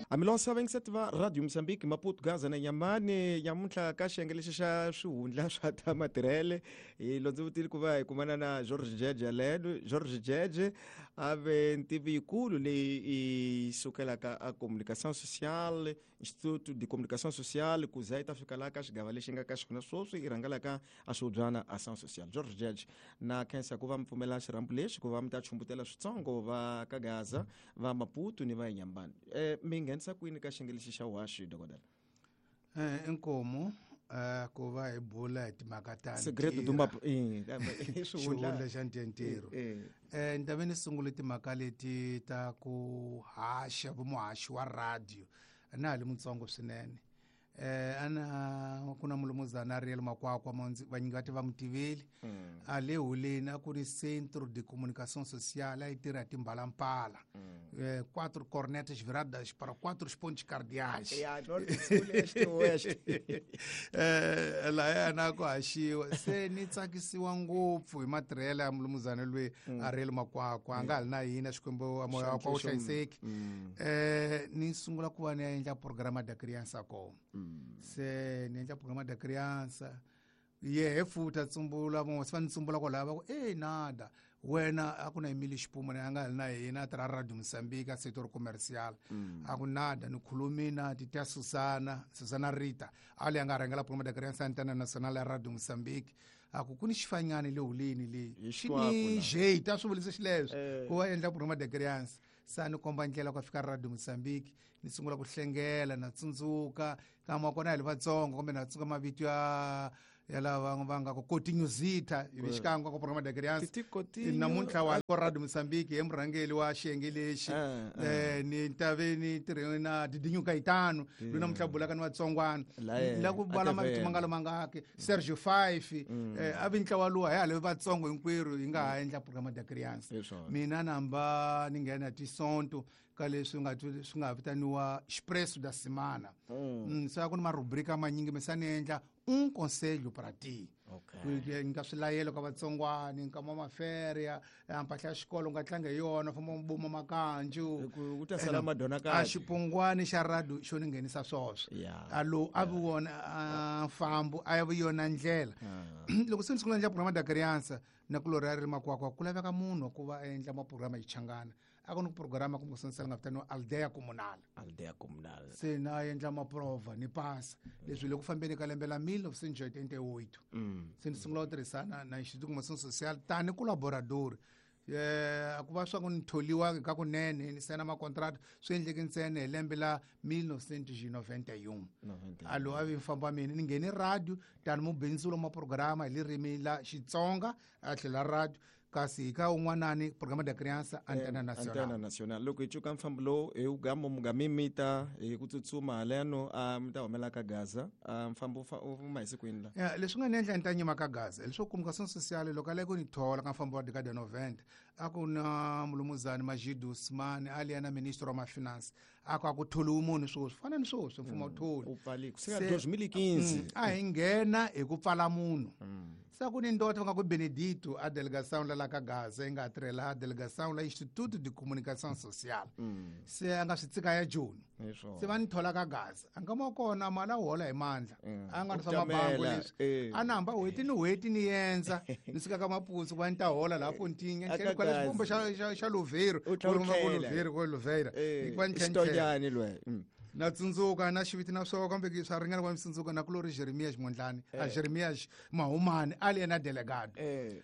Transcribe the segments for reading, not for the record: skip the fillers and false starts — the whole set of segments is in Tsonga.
Amilosa vayingiseti va Radio Mozambique, Maputo, Gaza na Nyamani. Nyamuntlha ka xiyenge lexi xa swihundla swa ta matirhele hi londzovutile ku va hi kumana na George Jeje Ledo. George Jeje a ve ntivi yikulu leyi yi sukelaka a communication sociale, Instituto de Comunicação Social, ku za yi ta fika laha ka xigava lexi nga ka xona sweswi i rhangelaka a swihubyana Ação Social. George Jeje, na khensa ku va mi pfumela xirhambo lexi ku va mi ta chumbutela switsongo va ka Gaza, va Maputo ni va Inhambane. Mi nghenisa kwini ka xiyenge lexi xa vuhaxi, dokodela? Inkomu ku va hi bula hi timhaka ta Segredo do Maputo, i xihundla xa ntirho. Ni ta ve ni sungule timhaka leti ta ku haxa, vumuhaxi wa radio. Na ha li mutsongo swinene. Ana ku na mulumuzana Ariel Makwakwa, vanyingi va ti va mutiveli. A le holeni a ku ri Centro de Comunicação Social, a yi tirha timbalampala. 4 cornetas viradas para 4 pontos cardeais. Ya, norte, sul, este, oeste. Lahaya na ku haxiwa. Se ni tsakisiwa ngopfu hi matirhelo ya mulumuzana loyi Ariel Makwakwa, a nga ha li na hina, Xikwembu a moya wakwe wu hlayiseki. Ni sungula ku va ni ya endla programa da criança kona. Se ni endla programa da criança. Yehe futhi a tsumbula, van'we se va ni tsumbula kwalaya va ku, e nada wena a ku na Emile Xipumu na a nga ha li na hina, a tirha Radio Mozambique a sector commercial. A ku nada ni khulumi na titya Susana, Susana Rita, a leyi a nga rhangela programa da criança Antena Nacional ya Radio Mozambique. A ku ku ni xifanyani le holeni leyi. Hi Xi xikwako ni la. jeita, a swi vulise xileswo. Ku va endla programa da criança. Sa ni komba ndlela ku fika Radio Mozambique, ni sungula ku hlengela, na tsundzuka kama kona hi le vatsongo, kumbe na tsundzuka mavito ya lava va nga ku Coutinho Zita, hi xikan'we ka programa da criança. Titi Coutinho. Namuntlha wa ko Radio Mozambique hi murhangeri wa xiyenge lexi. Ni ta ve ni tirhe na Didinho Caetano, loyi namuntlha bulaka ni vatsongwana. La yena, La ku vala a mavito TV. ma nga lo mangaki. Sergio Fife, a vi ntlawa luwa, hi hale vatsongo hinkwerhu hi nga ha endla programa da criança. Hi swona. Mina namba ni nghena tisonto ka leswi nga swi nga vitaniwa Expresso da Semana. Se a ku ni marubrika manyingi, mi sa ni endla un conselho para ti. Ku nyika swilayelo ka vatsongwani, nkama wa maferia, mpahla ya xikolo u nga tlanga hi yona, famba u buma makanju. Hi ku, ku ta sala Ena, madona a kahle. xipungwani xa radio xo ni nghenisa swoswo. A lo, a vi wona, a mfambo, a vi yona ndlela. Loko se ni sungula endla programa da criança, na ku lori a ri makwakwa, ku laveka munhu ku va a endla maprograma hi Xichangana. A ku ni programa kumbe ku nga vitaniwa Aldeia Comunal. Aldeia Comunal. Se na endla maprova ni pasa. Leswi le ku fambeni ka lembe la mil novecentos e oitenta e oito. Se ni sungula ku tirhisana na Instituto de Comunicação Social tani colaborador. A ku va swa ku ni tholiwa ka kunene ni sayina makontrakt, swi endleke ntsena hi lembe la mil novecentos e noventa e um. Noventa e A lowu a vi mfambo wa mina, ni nghene radio tani mubindzuli wa maprograma hi ririmi la Xitsonga a tlhela radio, kasi hi ka un'wanani programa da criança Antena Nacional. Antena Nacional. Loko hi cuka mfambo lowu hi wu gama mugamimita hi ku tsutsuma haleno, a mi ta humela ka Gaza. A mfambo wu huma hi siku yini la? Ya, leswi nga ni endla ni ta nyima ka Gaza leswo comunicação social loko a lava ku ni thola ka mfambo wa década 90, a ku na mulumuzani Majid Usman a li yena ministre wa mafinance, a ku a ku tholiwi munhu sweswi, fana ni sweswi mfumo wu tholi. Wu pfali ku sika Se, dois mil e quinze. A hi nghena hi ku pfala munhu. Se a ku ni ndota va nga ku Benedito a delegação la la ka Gaza, yi nga tirhela a delegação la Instituto de Comunicação Social. Se a nga swi tsika ya Joni. Hi swona. Se va ni thola ka Gaza. A nga ma kona mali a hola hi mandla. A nga ri swa U mabango tamela, leswi. A na hamba n'hweti ni n'hweti ni endza, ni suka ka Maputo ku va ni ta hola laha Pontinga, ni A tlhela ka kwala Gaza. xivumbo xa Louveiro. U tlhela u Ku ri tlhela. Louveiro, ku Louveira. Hi ku va ni tlhela ni tlhela. Xitonyani lwe. Na tsundzuka na xiviti na swona kambe ki swa ringana ku va mi tsundzuka na ku lori Jeremias Mondlane, a Jeremias Mahumani a li yena delegado.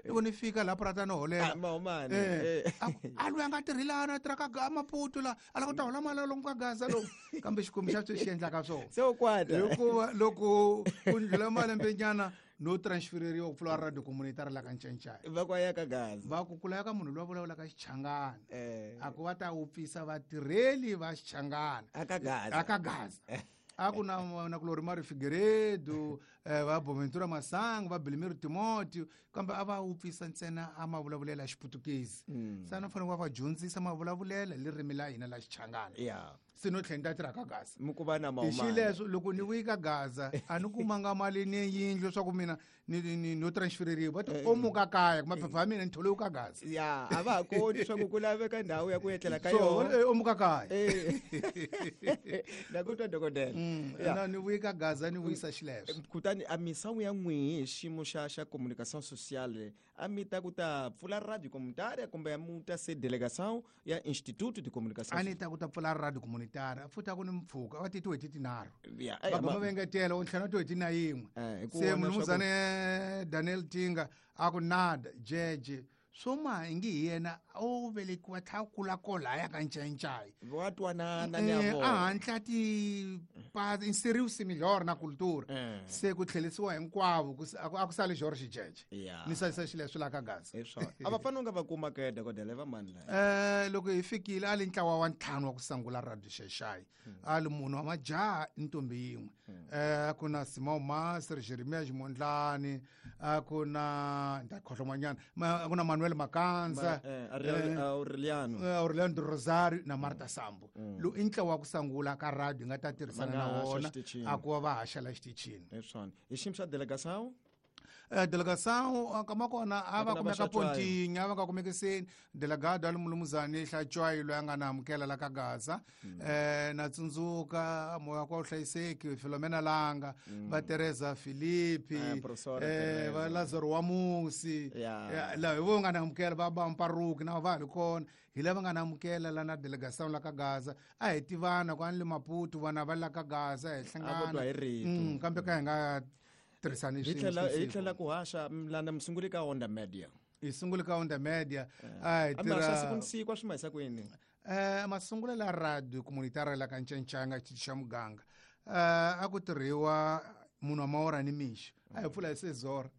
Loko ni fika laha purata no holela. Ah, Mahumani, A loyi a nga tirhi laha, a tirha ka Maputo laha, a lava ku ta hola mali lomu ka Gaza lomu. Kambe Xikwembu xa sweswi xi endlaka swona. Se u kwata. Hikuva loko ku ndlhula malembe nyana no transfereriwa ku pfula radio communitary la ka Ncancani. Va ku a ya ka Gaza. Va ku kula ka munhu loyi a vulavulaka Xichangana. A ku va ta wupfisa vatirheli va Xichangana. A ka Gaza. A ka Gaza. A ku na na kulori Mário Figueiredo, va Boaventura Masango, va Belmiro Timóteo, kambe a va wupfisa ntsena a mavulavulelo ya Xiputukezi. Se a ni fanele va va dyondzisa mavulavulelo hi ririmi la hina la Xichangana. Se no tlhela ni ta tirha ka Gaza. Mi ku va na Hi mahumana. xileswo loko ni vuyi ka Gaza a ni kumanga mali ni yindlu leswaku mina ni no transfereriwa, va ti o muka kaya maphepha ya mina ni tholiwe ka Gaza. Ya, a va ha koti swa ku ku laveka ndhawu ya ku etlela ka So yona. O muka kaya. Na ku twa dokodela. Na ni vuyi ka Gaza ni vuyisa xileswo. Kutani a misawu ya n'wihi hi xiyimo xa communication sociale, a mi ta ku ta pfula radio comunitária kumbe mu ta se delegação ya Instituto de Comunicação? A ni ta ku ta pfula radio comunitária, futhi a ku ni mpfhuka va ti tin'hweti tinharhu. Ya, Va guma va engetela u ntlhanu tin'hweti na yin'we. Hi ku Se vona mulumuzane Daniel Tinga a ku nada jeje swo ma ingi hi yena o velekiwa tlha kula kolaya ka Ncayincai. Va twanana ni ya A vona. hatla ti pa inseriu-se melhor na cultura. Se ku tlherisiwa hinkwavo, ku a ku sali George Jeje. Ni salisa xileswo la ka Gaza. Hi swona. A va fanele nga va kuma ke dokodela va mani la? Loko hi fikile a li ntlawa wa ntlhanu wa ku sungula Radio Xaixai. A li munhu wa majaha ntombi yin'we. A ku na Simão Master, Jeremias Mondlane, a ku na nda khohlomanyana, a ku na Manuel Makanza, Aureliano. Aureliano do Rosario na Marta Sambo. Lo i ntlawa wa ku sungula ka radio nga ta tirhisana Va nga na haxa wona, xitichini. a ku va va haxa la xitichini. Hi swona. Hi xiyimo xa delegação? Delegação, kama kona a va Va ku na kumeka va Hlatshwayo. Pontinha, a va nga kumekiseni. Delegado a li mulumuzani Hlatshwayo loyi a nga na amukela la ka Gaza. Na tsundzuka moya wa vuhlayiseki Filomena Langa, va Teresa Filipi, Professora va Teresa. Lazaro wa Musi. La hi vo nga na amukela va ba Mparuki na va ha ri kona. Hi lava nga na amukela la na delegação la ka Gaza. A hi tivana ku a ni le Maputo, vana va la ka Gaza, hi A vo hlangana. twa hi rito. Kambe ka hi nga tirhisani Hi swin'we hi siku. tlhela ku haxa lana mi sungule ka Onda Media. Hi sungule ka Onda Media. A hi A mi haxa tirha siku ni siku, a swi mahisa ku yini? Masungulo la radio comunitária la ka Ncancanga, xitichi xa muganga. A ku tirhiwa munhu wa mawora ni mixo. A hi pfula hi seis horas.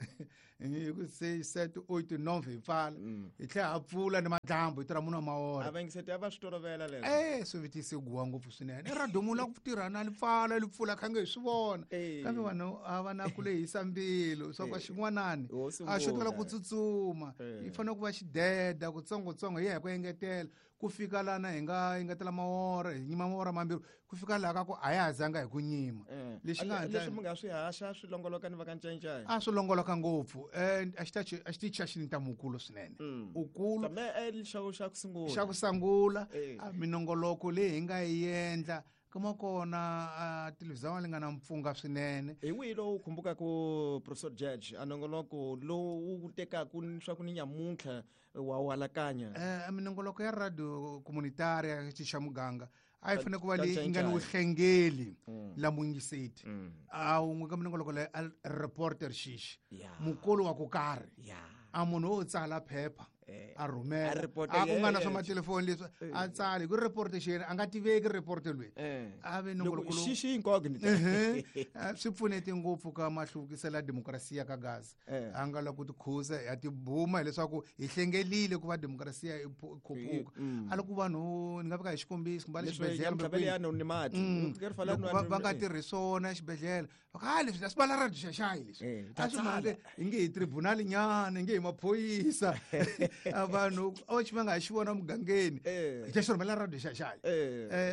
Hi ku seis, sete, oito, nove hi pfala. Hi tlhela ha pfula ni madyambu hi tirha munhu wa mawora. A va yingiseti a va swi tolovela leswo. Swi vitise guwa ngopfu swinene. I radio munhu la ku tirha na li pfala, li pfula kha nge hi swi vona. Kambe vanhu a va na ku lehisa mbilu, swa ku xin'wanani Ho a xo tala sungula. ku tsutsuma. Yi fanele ku va xideda, kutsongotsongo, hi ya hi ku engetela. Ku fika lana hi nga engetela mawora, hi nyima mawora mambirhi, ku fika laha ka ku a ya ha zanga hi ku nyima. Lexi nga hatla Leswi mi nga swi haxa swi longoloka ni va ka Ncayincaya? A swi longoloka ngopfu. A xi ta xi, a xi tichi a xi ni ntamukulu swinene. Ukulu. Kambe, xa ku, xa ku sungula. Xa ku sungula, a minongoloko leyi hi nga yi endla, kuma kona, a televhizão li nga na mpfunga swinene. Hi wihi lowu khumbukaka Professor Judge, a nongoloko lowu wu tekaka swa ku ni nyamuntlha wa wu alakanya? Minongoloko ya radio comunitária ya xitichi xa muganga a yi fanele ku va Ka leyi nga ni Ncayincaya. vuhlengeli la muyingiseti. A wun'we ka minongoloko leyi a reporter xixi. Mukolo wa ku karhi. A munhu wo tsala phepha, a rhumela. A reporter A ku nga na yeye. swa matelefoni leswi, a tsala. Hi ku reporter xi yena, a nga tiveki reporter loyi. A ve Loko nongoloko lowu. xixi incognito. Swi pfunete ngopfu ka mahluvukiselo ya demokrasiya ka Gaza. A nga lava ku tikhuza, ya tibuma hileswaku hi hlengelile ku va demokrasiya yi khuphuka. A loko vanhu, ni nga veka hi xikombiso, kumbe a le Leswi xibedhlele ya kumbe mtlhavelo kwihi. ya anonymity. Loko ri fana Loko na va nga tirhi swona exibedhlele, va ku, leswi a swi vala radio Xaxai leswi. A swi Ta mhaka tsala. hi nge hi tribunal nyana, hi nge hi maphorisa. A vanhu, a va xi va nga ha xi vona mugangeni. Hi ta xi rhumela radio Xaxai.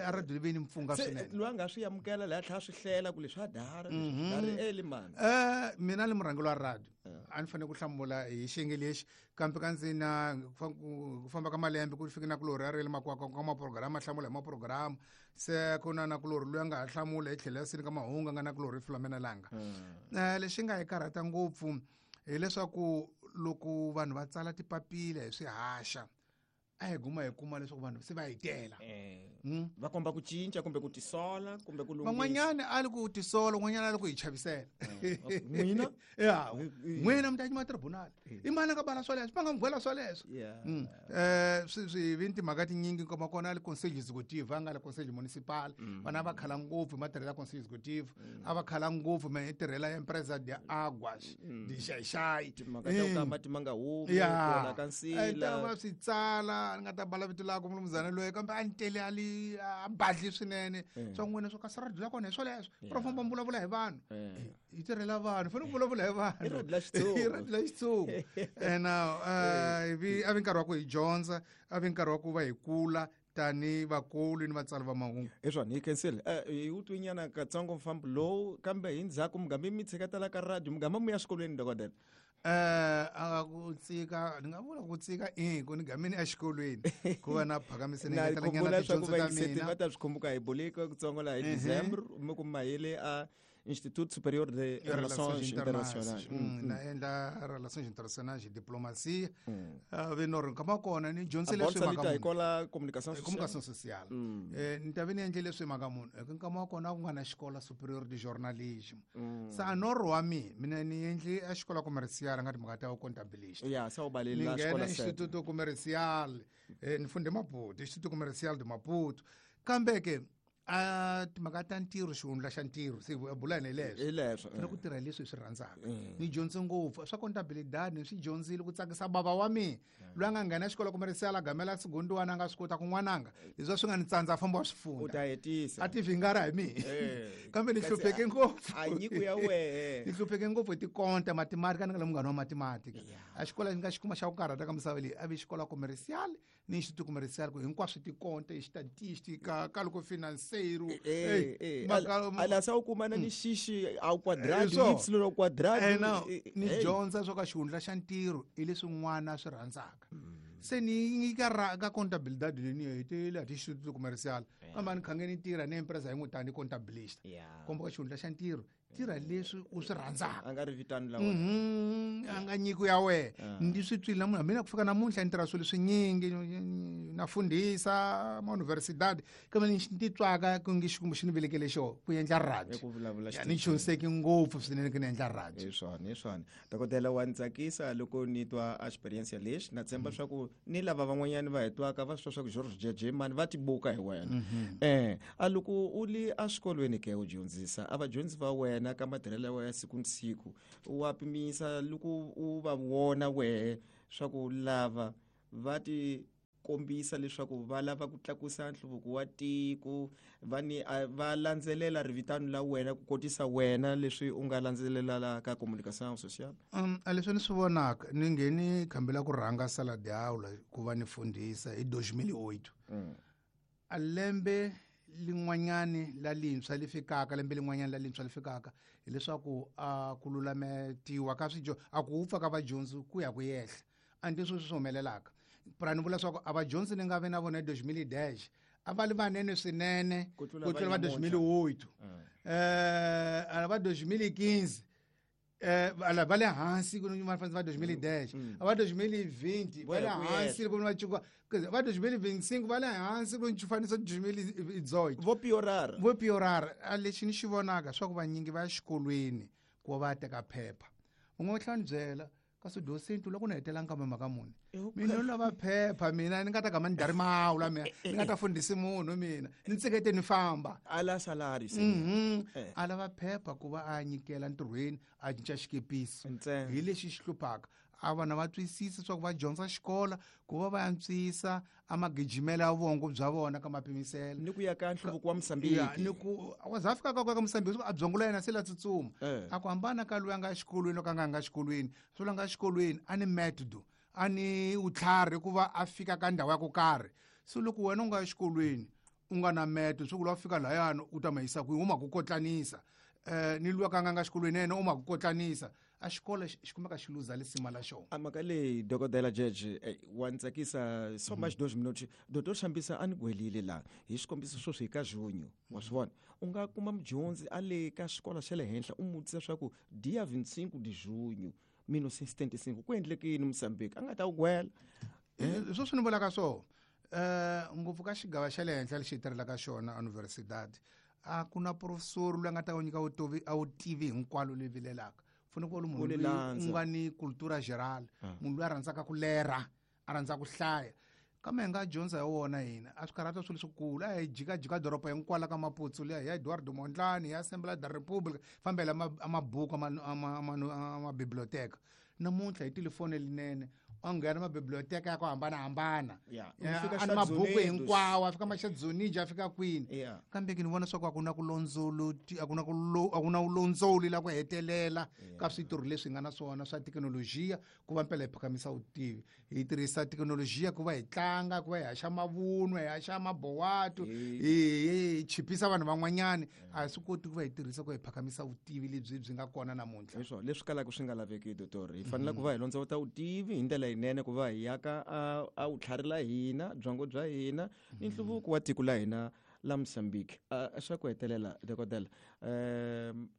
A radio leyi ni mpfunga Se, swinene. loyi a nga swi amukela laha tlhela a swi hlela ku leswi a dara, leswi dara eli mani. Mina ni murhangeri wa radio. A ni fanele ku hlamula hi xiyenge lexi, kambe ka ndzi na ku famba ka malembe ku fike na ku lori a ri le makwakwa ka maprograma, a hlamula hi maprograma. Se ku na na ku lori loyi a nga ha hlamula hi tlhelo ya sini ka mahungu, a nga na ku lori Filomena Langa. Lexi nga hi karhata ngopfu hileswaku loko vanhu va tsala tipapila hi swihaxa, a hi guma hi kuma leswaku vanhu se va hi tela. Va komba ku cinca kumbe ku tisola kumbe ku lunghisa. Van'wanyana a li ku tisola, un'wanyana a li ku hi chavisela. N'wina? Ya, n'wina mi ta yima tribunal. I mani a nga bala swoleswo? Va nga n'wi gwela swoleswo. Swi vi ni timhaka tinyingi, nkoma kona a li conseil executive, a nga li conseil municipal. Vana a va khala ngopfu hi matirhelo ya conseil executive. A va khala ngopfu hi matirhelo ya empresa de aguas, de Xaixai. Timhaka ta ku ka mati ma nga humi, ku onha ka nsila. Ta va swi tsala, ni nga ta bala vito lako mulumuzana loyi, kambe a ni tele a li loyi a badli swinene swa n'wina swo kasi radio la kona hi swoleswo pro famba mi vulavula hi vanhu hi tirhela vanhu fanele ku vulavula hi vanhu I radio la Xitsonga. I radio la Xitsonga and ivi a vi nkarhi wa ku hi dyondza a vi nkarhi wa ku va hi kula tani vakulu ni vatsari va mahungu. Hi swona, hi khensile. Hi wu twinyana katsongo mfambo lowu, kambe hi ndzhaku mugama mi tshiketela ka radio, mugama mi ya swikolweni, dokodela. A ku tsika, ni nga vula ku tsika i ku ni gamini exikolweni ku va na phakamise ni Na ngetela nyana khumbula swa ku tidyondzo ta vayingiseti mina. va ta swi khumbuka hi bulika kutsongo laha hi December mi ku mahele a Institut Superior de Relações Internacionais. Na endla Relações Internacionais, diplomacia. Vi no ri nkama kona ni dyondzile A leswi bolsa mhaka lita hi munhu. kola communication sociale. Communication sociale. Ni ta vi ni endle leswi mhaka munhu. Eka nkama wa kona ku nga na xikola superior de journalism. Sa a norho wa mina, mina ni endli a xikola commercial nga timhaka ta comptabilista. Ya, sa u baleli Ni la nghena xikola set. Instituto Comercial, ni funde Maputo, Instituto Comercial de Maputo. Kambe ke a timhaka ta ntirho, xihundla xa ntirho, se bula hi leswo. Hi leswo, Fanele ku tirha leswi hi swi rhandzaka. Ni dyondze ngopfu swa contabilidad, ni swi dyondzile ku tsakisa bava wa mina. Loyi a nga nghena xikolo comercial a gamela segundiwana a nga swi kota ku n'wananga. Leswi swi nga ni tsandza a famba wa swi funda. U ta hetisa. A ti vhingara hi mina. Kambe ni Kasi hlupheke ngopfu. a nyiko ya wehe. Ni hlupheke ngopfu hi tikonta, mathematika, ni nga le munghana wa mathematika. A xikolo ni nga xi kuma xa ku karhata ka misava leyi, a vi xikolo comercial ni Instituto Comercial, ku hinkwaswo tikonta, estatistica, cálculo financeiro. Ala sa u kumana ni xixi au quadrado, Hi swona. y au quadrado. No, ni dyondza swo ka xihundla xa ntirho hi leswi n'wana a swi rhandzaka. Se ni ka ra ka contabilidad leyi ni hetele a ti Instituto Comercial. Kambe a ni khange ni tirha ni empresa yin'we tani contabilista. Komba ka xihundla xa ntirho, tirha leswi u swi rhandzaka. A nga ri vitani la wena. A nga nyiko ya wena. Ndi swi twile namuntlha, mina ku fika namuntlha ni tirha swilo swinyingi, na fundhisa ma universidad, kambe ni ti twaka ku nge Xikwembu xi ni velekele xona ku endla radio. Ku vulavula Ya, ni chunseki ngopfu swinene ku ni endla radio. Hi swona, hi swona. Dokodela, wa ni tsakisa loko ni twa experience lexi. Na tshemba swa ku ni lava van'wanyani va hi twaka va swi twa swa ku George Jeje mani va tibuka hi wena. A loko u li exikolweni ke u dyondzisa, a vadyondzi va wena ka matirhelo ya wena ya siku ni siku, wa pimisa loko u va vona wehe swa ku lava va ti kombisa leswaku va lava ku tlakusa nhluvuko wa tiko, va ni, a, va landzelela rivitano la wena ku kotisa wena leswi u nga landzelela la ka communication sociale? A leswi ni swi vonaka, ni ngheni khambi la ku rhanga sala de aula ku va ni fundhisa hi 2008. A lembe lin'wanyani la lintshwa li fikaka, lembe lin'wanyani la lintshwa li fikaka, hileswaku a ku lulametiwa ka swidyondzi, a ku wupfa ka vadyondzi ku ya ku yehla. A ndi sweswi swi humelelaka. Pra ni vula leswaku a vadyondzi ni nga vi na vona hi 2010, a va li vanene swinene Ku tlula ku tlula va va namuntlha. 2008. A va 2015, ala va le hansi ku ni va fanele va 2010. A va 2020, va le Voya ku hansi yehla. ku ni va cuka. Va 2025, va le hansi ku ni fanisa 2018. Vo piorara. Vo piorara. A lexi ni xi vonaka swa ku vanyingi va ya xikolweni ku va va ya teka phepha. Un'we u tlhela ni byela, kasi docent loko ni hetela nkambe mhaka muni? Mina ni lava phepha, mina ni nga ta gama ni dari mawu la mina, ni nga ta fundhisi munhu mina, ni tsekete ni famba. A la salary se. A lava phepha ku va a nyikela ntirhweni, a cinca xikepisi. Ntsena. Hi lexi xi hluphaka. A vana va twisisa swa ku va dyondza xikola ku va va antswisa a magijimelo ya vongo bya vona ka mapimiselo. Ni ku ya ka nhluvuko wa Mozambique. Ya, ni ku, wa za fika ka ka Mozambique, a byongo la yena se la tsutsuma. A ku hambana ka loyi a nga exikolweni loko a nga nga xikolweni. Swo la nga xikolweni a ni metodo, a ni vutlhari ku va a fika ka ndhawu ya ku karhi. Se loko wena u nga exikolweni u nga na metodo, swo ku lwa fika lahayani u ta ma yisa kwihi, u ma ku kotlanisa. Ni luya ka nga nga xikolweni yena u ma ku kotlanisa. A xikolo xi kumeka xi luza lisima la xona. A mhaka leyi, dokodela Jeje, wa ni tsakisa so much 2 minutes. Doctor Shambisa a ni gwelile laha hi xikombiso sweswi hi ka Junho, wa swi vona. U nga kuma mudyondzi a le ka xikolo xa le henhla u n'wi vutisa swa ku dia 25 de junho 1975 ku endleke yini Mozambique, a nga ta wu gwela. Sweswi ni vulaka so, ngopfu ka xigava xa le henhla lexi hi tirhelaka xona universidad, a ku na professor loyi a nga ta wu nyika vutovi, a wu tivi hinkwalo leyi vilelaka. Fanele ku va munhu Ku loyi landza. u nga ni cultura générale, munhu loyi a rhandzaka ku lerha, a rhandza ku hlaya. Kambe hi nga dyondza hi wona hina, a swi karhata swilo leswikulu. A hi jikajika doroba hinkwalo ka Maputo liya, hi ya Eduardo Mondlane, hi ya Assembly da República, fambela a mabuku, a mabiblioteka. Namuntlha hi telefoni leyinene, A nghena mabiblioteka ya ku hambanahambana. Yeah. Eh, U fika a ni mabuku Estados Unidos. hinkwawo, a fika maxadzoniji, a fika kwini. Yeah. Kambe ke ni vona swa ku a ku na ku londzoloti, a ku na ku lo, a ku na vulondzoli la ku hetelela ka switirho leswi hi nga na swona swa thekinolojiya ku va mpela hi phakamisa vutivi. Hi tirhisa thekinolojiya ku va hi tlanga, ku va hi haxa mavunwa, hi haxa mabowatu, hi chipisa vanhu van'wanyani. A hi swi koti ku va hi tirhisa ku hi phakamisa vutivi lebyi byi nga kona namuntlha. Hi swona leswi kalaka swi nga laveki, doctor. Hi fanele ku va hi londzovota vutivi hi ndlela yinene, ku va hi yaka a vutlhari la hina, byongo bya hina ni nhluvuko wa tiko la hina la Mozambique. Xa ku hetelela, dokodela,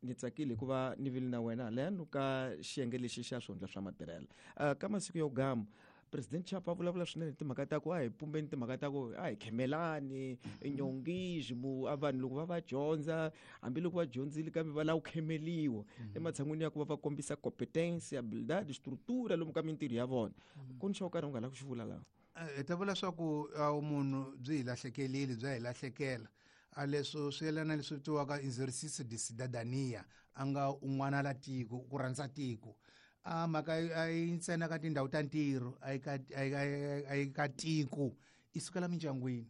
ni tsakile hikuva ni vile na wena haleno ka xiyenge lexi xa swihundla swa matirhelo. Ka masiku yo gama President Chapa a vulavula swinene timhaka ta ku a hi pumbeni, timhaka ta ku a hi khemelani nyongismo, a vanhu loko va dyondza, hambiloko va dyondzile kambe va lava ku khemeliwa ematshan'wini ya ku va va kombisa competence, habilidade, structure lomu ka mintirho ya vona. Ku ni xo karhi u nga lavi ku xi vula laha? Hi ta vula swa ku vumunhu byi hi lahlekelile, bya hi lahlekela. A leswo swi yelana leswi vitiwaka exercice de cidadania, a nga un'wana la tiko, ku rhandza tiko. A mhaka a yi ntsena ka tindhawu ta ntirho, a yi ka, a yi, a yi, a yi ka tiko, i sukela mindyangwini.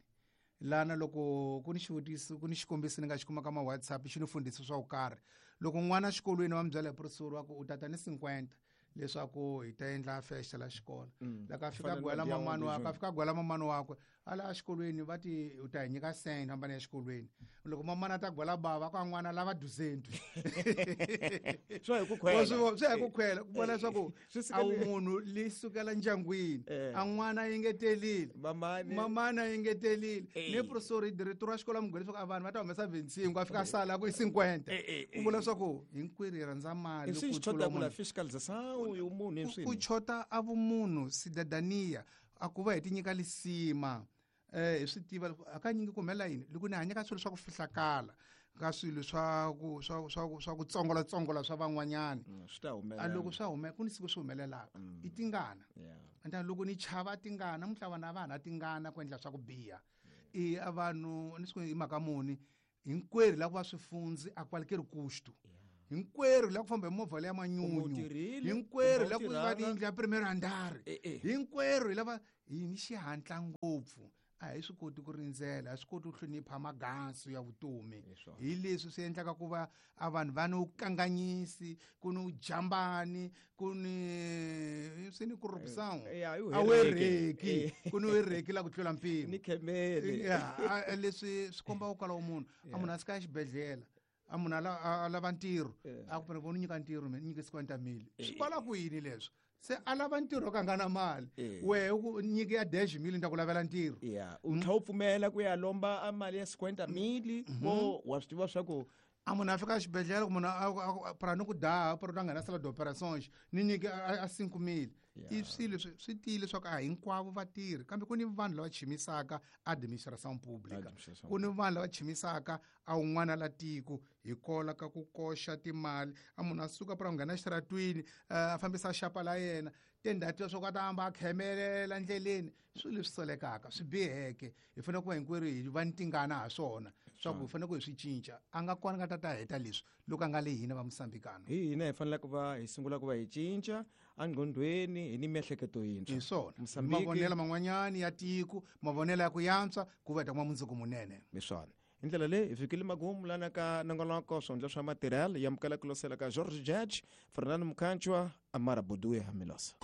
Lana loko ku ni xivutiso, ku ni xikombiso ni nga xi kuma ka ma WhatsApp, xi ni fundhisa swa ku karhi. Loko n'wana exikolweni va mi byela hi professor wa ku u tata ni 50 leswaku hi ta endla festa la xikolo. Loko a fika Fana na gwela Dion mamani wakwe, a Dijon. fika gwela mamani wakwe, a la exikolweni va ti u ta hi nyika cent hambana ya xikolweni. Loko mamani a ta gwela bava ka n'wana lava duzentu. Swi ya hi ku khwela. Wa swi vona, swi ya hi ku khwela, ku vona leswaku Swi suka a wu le- munhu li sukela ndyangwini. A n'wana a engetelile. Mamani. Mamani a engetelile. Ni professor director wa xikolo a mi gwela leswaku a vanhu va ta humesa 25, a fika a sala ku i 50. Ku vula leswaku hinkwerhu hi rhandza mali I swi ku xi tlula chota ku la munhu. fiscalização yo munhu i Ku swini? chota a vumunhu, cidadania, a ku va hi ti nyika lisima. Hi swi tiva loko hakanyingi ku humelela yini loko ni hanya ka swilo swa ku fihlakala, ka swilo swa ku, swa, swa ku, swa ku tsongolatsongola swa van'wanyani. Swi ta humelela. A loko swa hume, ku ni siku swi humelelaka. I tingana. Enta loko ni chava tingana, namuntlha vana a va ha na tingana ku endla swa ku biha. I a vanhu, ni swi i mhaka muni, hinkwerhu la ku va swifundzi a qualquer custo. Hinkwerhu la ku famba hi movha leya manyunyu. Kumbe u tirhile, Hinkwerhu kumbe la u ku va tirhanga. tiyindlu ya primero andar. Hinkwerhu hi lava hi ni xihatla ngopfu. A hi swi koti ku rindzela, a hi swi koti ku hlonipha magansu ya vutomi. Hi swona. Hi leswi swi endlaka ku va a vanhu va ni vukanganyisi, ku ni vujambani, ku ni swi ni corruption. Ya, i A wu hereki. hereki. Ku ni hereki la ku tlula mpimo. Ni khemele. Ya, a leswi swi komba ku kwalaho munhu. A munhu a sika exibedhlele. A munhu a lava ntirho. A ku pfuna ku nyika ntirho, mina ni nyike 50 mil. Swi kwala ku yini leswi? Se a lava ntirho ka nga na mali. Wehe u ku nyike ya dash mil ni ta ku lavela ntirho. Ya, u tlhela u pfumela ku ya lomba a mali ya 50 mil, vo wa swi tiva swa ku a munhu a fika exibedhlele, ku munhu a pra ni ku daha, pra u nghena sala d'opérations, ni nyike a 5 mil. I swilo swi tiyile leswaku a hinkwavo vatirhi, kambe ku ni vanhu lava chimisaka administration pública. Administration Ku ni vanhu lava chimisaka a un'wana la tiko hi kola ka ku koxa timali. A munhu a suka pra nghena exitaratwini, a fambisa xapa la yena, tindhawu leswaku a ta hamba a khemelela ndleleni. Swilo leswi solekaka, swi biheke. Hi fanele ku va hinkwerhu hi va ni tingana ha swona, swa ku hi fanele ku hi swi cinca. A nga kona nga ta ta heta leswi loko a nga le hina va Mosambikano. Hi hina hi fanele ku va hi sungula ku va hi cinca engqondweni, hi ni miehleketo yintshwa. Hi swona. Mosambiki Mavonelo man'wanyani ya tiko, mavonelo ya ku yantswa, ku va hi ta kuma mundzuku munene. Hi swona. Hi ndlela leyi hi fikile magumu lana ka nongonoko swihundla swa matirhelo ya amukela ku losela ka George Judge, Fernando Mukhanchwa, Amara Boduya Milosa.